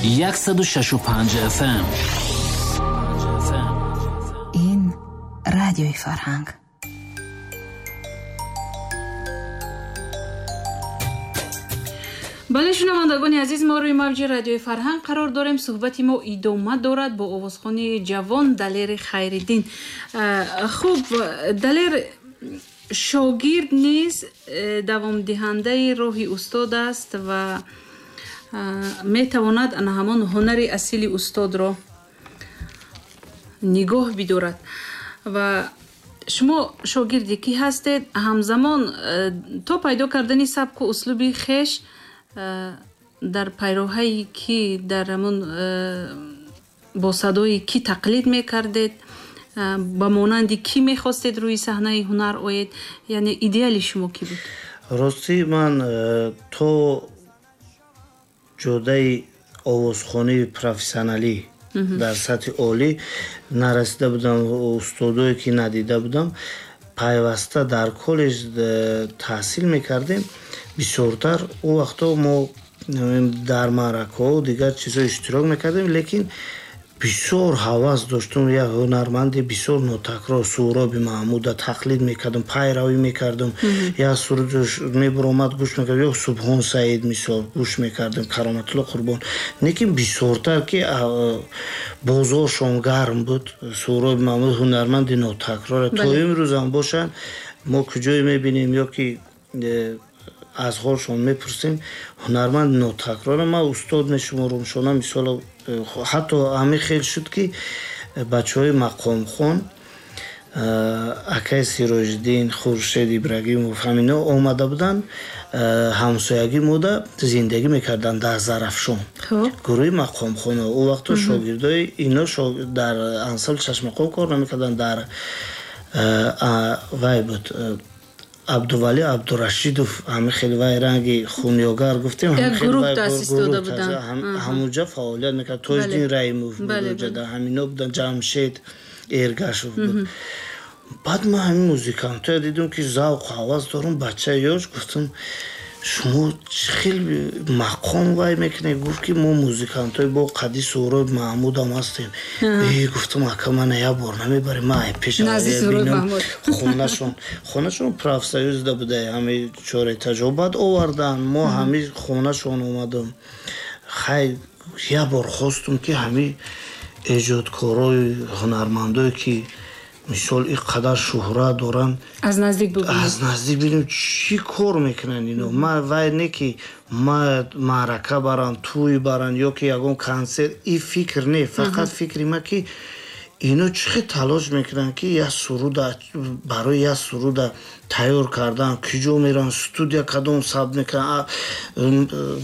106.5 FM. Ин радиои Фарҳанг. Бале, шунавандагони азиз, мо рӯи мавҷи радиои Фарҳанг қарор дорем. Суҳбати мо идома дорад бо овозхони ҷавон Далери Хайриддин. Хуб, Далер, шогирд низ давомдиҳандаи роҳи устод аст ва метавонад ана ҳамон ҳунари асили устодро нигоҳ бидорад. Ва шумо шогирди кӣ ҳастед? Ҳамзамон то пайдо кардани сабку услуби хеш дар пайроҳаи кӣ, дар ҳамон бо садои кӣ тақлид мекардед? Ба монанди кӣ мехостед рӯи саҳнаи ҳунар оед? Яъне идеали шумо кӣ буд? Ростӣ, ман то ҷодаи овозхонии профессионалӣ дар сатҳи олӣ нарасида будам, устодое ки надида будам, пайваста дар коллеҷ таҳсил мекардем. Бисёртар он вақтҳо мо дар маъракаҳо дигар чизҳо иштирок мекардем, лекин бисёр ҳавас доштум. Як ҳунарманди бисёр нотакрор Суҳроби Маҳмуда тақлид мекардам, пайравӣ мекардам. Як суруд мебуромад, гӯш мекардам, ё Субҳон Саид мисол гӯш мекардам, Кароматулло Қурбон. Лекин бисёртар ки бозоршон гарм буд, Суҳроби Маҳмуд ҳунарманди нотакрор. То имрӯзам бошанд, мо куҷое мебинем ё ки аз ҳолшон мепурсем, ҳунарманд нотакрора. Ман устод мешуморам шона, мисол ҳатто ҳамин хел шуд ки бачаҳои мақомхон, акай Сироҷиддин, Хуршед Ибрагимов, ҳамино омада буданд, ҳамсоягӣ мода зиндагӣ мекарданд дар Зарафшон, гурӯҳи мақомхона. Он вақто шогирдои ино дар ансамбли Чашмақом кор намекарданд, дар вай буд Абдували Абдурашидов, ҳамин хел вай ранги хунёгар гуфтем, ҳамунҷа фаъолият мекард. Тоҷиддин Раимов буд уҷада, ҳамино буданд, Ҷамшед Эргашов буд. Баъд ман ҳамин музикантоя дидум ки завқу ҳавас дорум, бачаи ёш, гуфтам шумо чӣ хел мақом вай мекунед? Гуфт ки мо музикантои бо қади Суҳроб Маҳмудам ҳастем. Гуфтам ака, мана як бор намебарем, ман пеш хонашон профсоюзда буда, ҳами чор этажо. Баъд овардан, мо ҳами хонашон омадам. Хай, як бор хостум ки ҳами эҷодкорои ҳунармандое ки мисол ин қадар шӯҳрат доранд, аз наздик бубинем, аз наздик бинем чӣ кор мекунанд ино. Ман вай не ки ма маърака барам, тӯй барам ё ки ягон консерт, ин фикр не, фақат фикри ма ки ино чӣ хел талош мекунанд ки як суруда, барои як суруда тайёр кардан куҷо мераванд, студия кадом сабт мекунанд,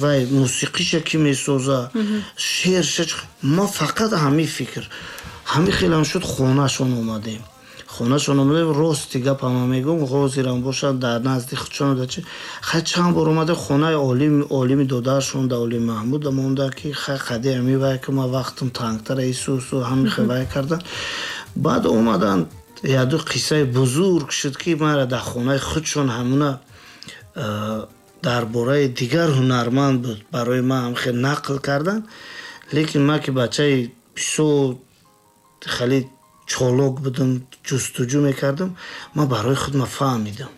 вай мусиқиша кӣ месоза, шеърша. Ма фақат ҳамин фикр. Ҳамин хелам шуд, хонашон омадем. Хонашон омадем, рости гап ҳама мегӯм, ҳозирам бошад дар назди худшон дачи. Хай, чанд бор омадем хонаи олими додаршон да Олим Маҳмуда монда ки хай қади ҳами вай ки ма вақтам тангтара исусу ҳами хел вай кардан. Баъд омадан, яду қиссаи бузург шуд ки мара дар хонаи худшон ҳамуна дар бораи дигар ҳунарманд буд, барои ман ҳам хел нақл кардан. Лекин ман ки бачаи бисёр хеле чолок будам, ҷустуҷӯ мекардам, ман барои худ ма фаҳмидам.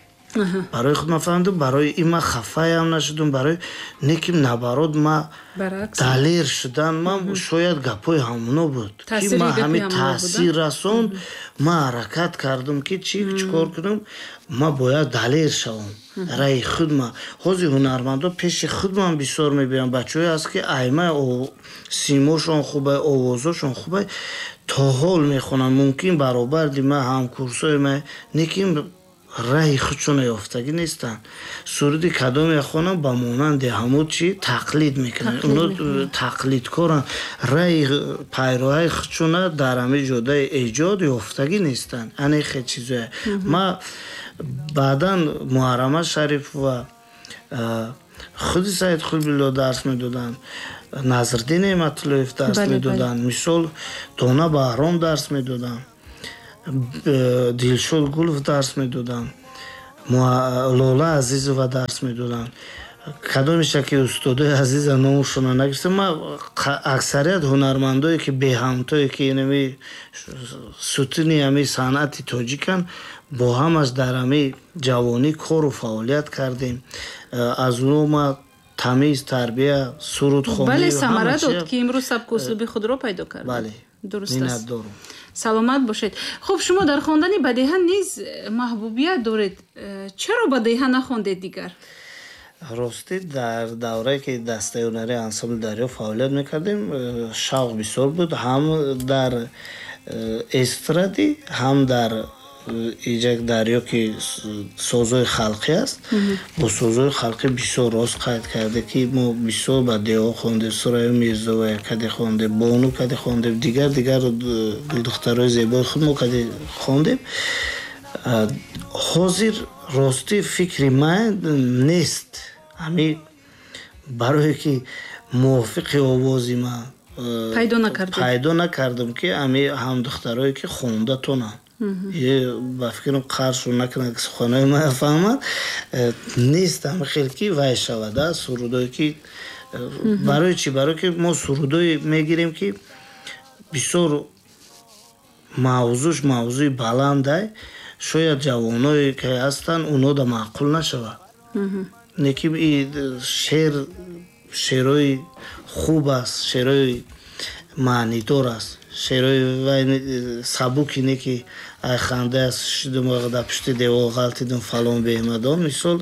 Барои худ ма фаҳмидам, барои ин ман хафаям нашудам, барои не ки наоборот ма далер шудан, ман шояд гапҳои ҳамоно буд ки ман ҳамин таъсир расонд, ман ҳаракат кардам ки чӣ кор кунам, ман бояд далер шавам. Раи худ ма. Ҳозир ҳунармандо пеши худ ман бисёр мебинам, бачаҳое ҳаст ки айма симошон хубай, овозошон хубай, то ҳол мехонанд, мумкин баробарди ма, ҳамкурсои ма, лекин раҳи худшона ёфтагӣ нестанд. Суруди кадоме хонам, ба монанди ҳамун чи тақлид мекунанд, оно тақлидкоранд, раҳи пайроҳаи худшона дар ҳамин ҷодаи эҷод ёфтагӣ нестанд. Ане хел чизое. Ма баъдан Муҳаррама Шарипова, худи Саид Хулбилло дарс медоданд, Назриддин Неъматуллоев дарс медоданд, мисол Дона Баҳром дарс медоданд, Дилшод Гулов дарс медоданд, Лола Азизова дарс медоданд. Кадомеша ки устодои азиза номушона нагирифтам, ман аксарият ҳунармандое ки беҳамтое ки инами сутуни ҳами санъати тоҷикан, бо ҳамаш дар ҳами ҷавонӣ кору фаъолият кардем. Аз оно ма тамиз, тарбия, сурудхонӣ. Бале, самара дод, ки имрӯз сабку услуби худро пайдо кардед. Бале. Дуруст аст. Миннатдорум. Саломат бошед. Хуб, шумо дар хондани бадеҳа низ маҳбубият доред. Чаро бадеҳа нахондед дигар? Ростӣ, дар даврае ки дастаи ҳунарии ансамбли Дарё фаъолият мекардем, шавқ бисёр буд, ҳам дар эстрадӣ, ҳам дар иҷак дарё, ки созҳои халқӣ аст. Бо созҳои халқӣ бисёр, рост қайд карде, ки мо бисёр ба деҳо хондем, Сурайё Мирзоая каде хондем, Бону каде хондем, дигар дигар гулдухтарои зебои худ мо каде хондем. Ҳозир, ростӣ, фикри ман нест, ҳами барое ки мувофиқи овози ман пайдо накардед. Пайдо накардам, ки ҳами ҳамдухтарое ки хонда тонанд. Ба фикрам, қаршу накунад, ки суханои ман фаҳмад, нест ҳами хел ки вай шавад сурудое ки. Барои чӣ? Барое ки мо сурудое мегирем, ки бисёр мавзӯш мавзӯи баландай, шояд ҷавоное ки ҳастанд, оно да маъқул нашавад. Неки шеър шеърҳои хуб аст, шеърҳои маънидор аст, шеърҳои вай сабуки не, ки ай ханда аст, шидум, дар пушти девор ғалтидум, фалон беҳмадон. Мисол,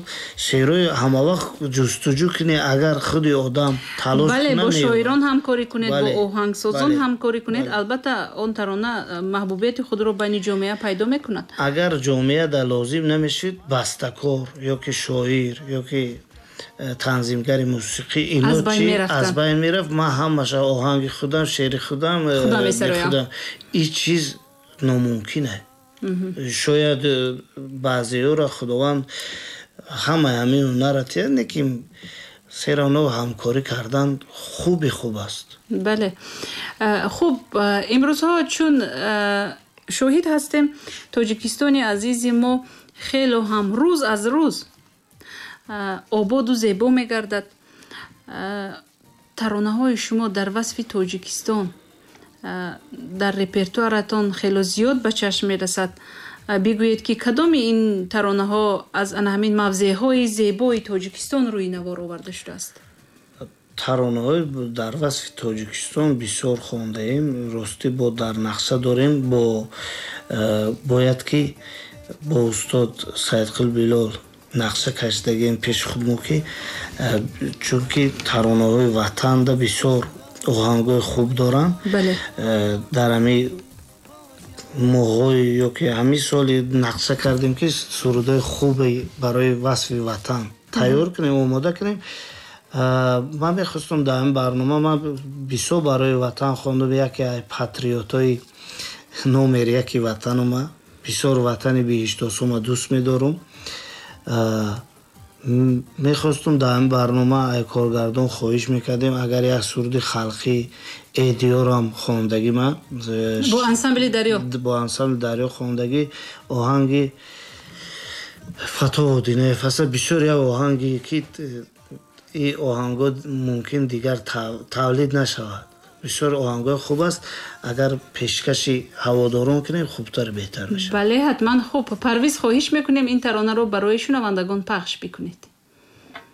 шеърҳои ҳамавақт ҷустуҷӯ кунӣ, агар худи одам талош. Бале, бо шоирон ҳамкорӣ кунед, бо оҳангсозон ҳамкорӣ кунед, албатта он тарона маҳбубияти худро байни ҷомеа пайдо мекунад. Агар ҷомеа дар лозим намешид бастакор ё ки шоир ё ки танзимгари мусиқӣ, ино чи аз байн мерафт. Ман ҳамаша оҳанги худам, шеъри худам. Худам. Ин чиз номумкин аст. Шояд баъзеёро Худованд ҳамаи ҳамин ҳунарра тиҳад, лекин серавно ҳамкорӣ кардан хуби хуб аст. Бале, хуб, имрӯзҳо чун шоҳид ҳастем, Тоҷикистони азизи мо хело ҳам рӯз аз рӯз ободу зебо мегардад. Таронаҳои шумо дар васфи Тоҷикистон дар репертуаратон хело зиёд ба чашм мерасад. Бигӯед, ки кадоми ин таронаҳо аз ана ҳамин мавзеъҳои зебои Тоҷикистон рӯи навор оварда шудааст? Таронаҳои дар васфи Тоҷикистон бисёр хондаем. Ростӣ, бо дар нақша дорем, бо бояд ки бо устод Саидқул Билол нақша кашидагем пеши худмо, ки чунки таронаҳои ватанда бисёр оҳангҳои хуб доранд. Дар ҳами моҳҳои ё ки ҳамин соли нақша кардем, ки сурудҳои хубе барои васфи ватан тайёр кунем, омода кунем. Ман мехостам дар ин барнома, ман бисёр барои ватан хондам, яке патриотҳои номер яки ватанума, бисёр ватани биҳиштосума дӯст медорум. Мехостум дар ин барнома, ай коргардон хоҳиш мекардем, агар як суруди халқӣ эдиёрам хондагӣ ма. Бо ансамбли Дарё. Бо ансамбли Дарё хондагӣ, оҳанги Фатоҳ Одинаев аст. Бисёр як оҳанги ки ин оҳангҳо мумкин дигар тавлид нашавад, бисёр оҳангҳои хуб аст. Агар пешкаши ҳаводорон кунем, хубтар, беҳтар мешавад. Бале, ҳатман. Хуб, Парвиз, хоҳиш мекунем, ин таронаро барои шунавандагон пахш бикунед.